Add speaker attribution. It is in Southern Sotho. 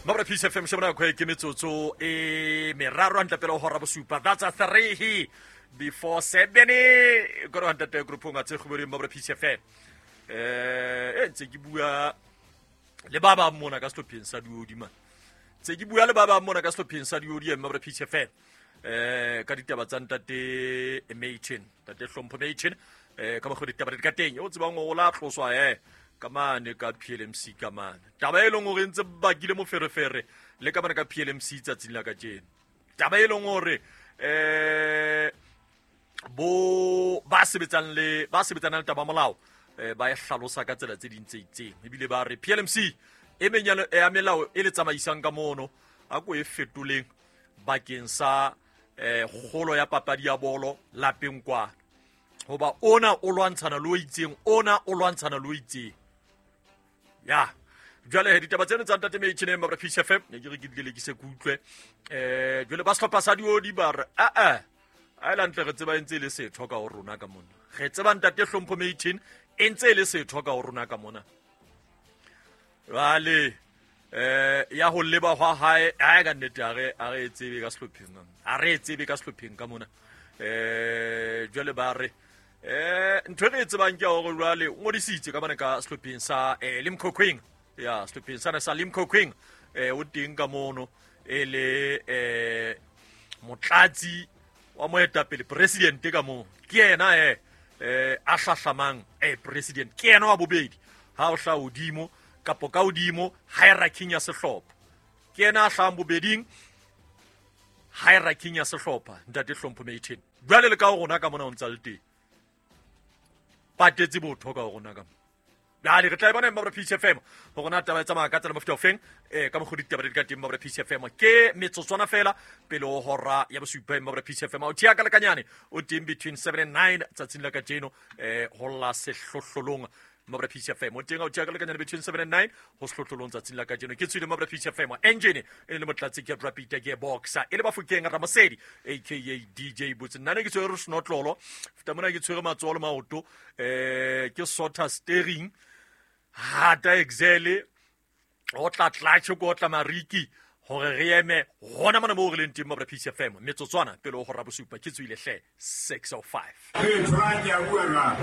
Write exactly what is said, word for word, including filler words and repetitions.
Speaker 1: Mabra Peace F M shebana ko ke metsotso e meraro hantle pele ho hora bosupa. That's a three before seven. Go re ntate groupong a tse kgobedi Mabra Peace F M. Eh e ntse ke bua le ba ba mona ka sehlopheng sa Diodi man. Tse ke bua le ba ba mona ka sehlopheng sa Diodi Mabra Peace F M. Eh ka ditaba tsa ntate Machen, ntate Hlompho Machen, eh ka mokgwa ditaba di ka teng. O tsebang o la tloswa eh ka mane ka P L M C ka mane. Taba e leng hore ntse bakile moferefere le ka mane ka P L M C tsatsing la kajeno. Taba e leng hore eh bo ba sebetsang le ba sebetsanang le taba molao eh ba e hlalosa ka tsela tse ding tse itseng. Ebile ba re P L M C e menyalo ya melao e le tsamaisang ka mono a ko e fetoleng bakeng sa eh kgolo ya papadi ya bolo lapeng kwa. Hoba ona o lwantshana le o itseng, ona o lwantshana le o itseng. Ya jwale he ditaba tseno tsa ntate Machen Mabra Peace F M ne ke re ke dile ke se kutlwe. Eh jwale ba sehlopha sa Diodi ba re a a a la ntle re tseba ntse le setho ka ho rona ka mona. Re tseba ntate Hlompho Machen e ntse le setho ka ho rona ka mona. Jwale eh ya ho leba hwa hae a ka nnete a re a re tsebe ka sehlopheng. A re tsebe ka sehlopheng ka mona. Eh jwale ba re eh ntho e re tsebang ke hore jwale o ngodisitse ka mane ka sehlopheng sa eh Limkokwing. Ya sehlopheng sana sa Limkokwing eh o teng ka mono e le eh motlatsi wa moetapele president ka mo. Ke yena eh eh a hlahlamang eh president ke yena wa bobedi ha o hla hodimo kapo ka hodimo hierarchy ya sehlopha. Ke yena a hlahang bobeding hierarchy ya sehlopha ntate Hlompho Machen. Jwale le ka rona ka mona o ntsa le teng. Patetse botho ka rona ka. Jwale re tla bona Mabra Peace F M hore na taba e tsamaya ka tsela mofuta ofeng eh ka mokgwa ditaba di ka teng Mabra Peace F M. Ke metsotswana fela pele ho hora ya bosupa Mabra Peace F M. O thea ka lekanyane o teng between seven and nine tsatsing la kajeno eh ho la sehlohlolong Mabra Peace F M. O teng o thea ka lekanyane between seven and nine ho sehlohlolong tsatsing la kajeno. Ke tswile Mabra Peace F M. Engine e le motlatsi ke Rapita ke Boxer e le Bafokeng Ramosedi aka D J Boots. Nna ne ke tshwere senotlolo feta mona ke tshwere matsoho le maoto eh ke sota steering hata excel o tla tlatse ko tla mariki hore re eme hona mona mo re leng teng Mabra Peace F M metsotswana pele ho hora bosupa ke tswile hle six oh five.
Speaker 2: Hey, try ya bua.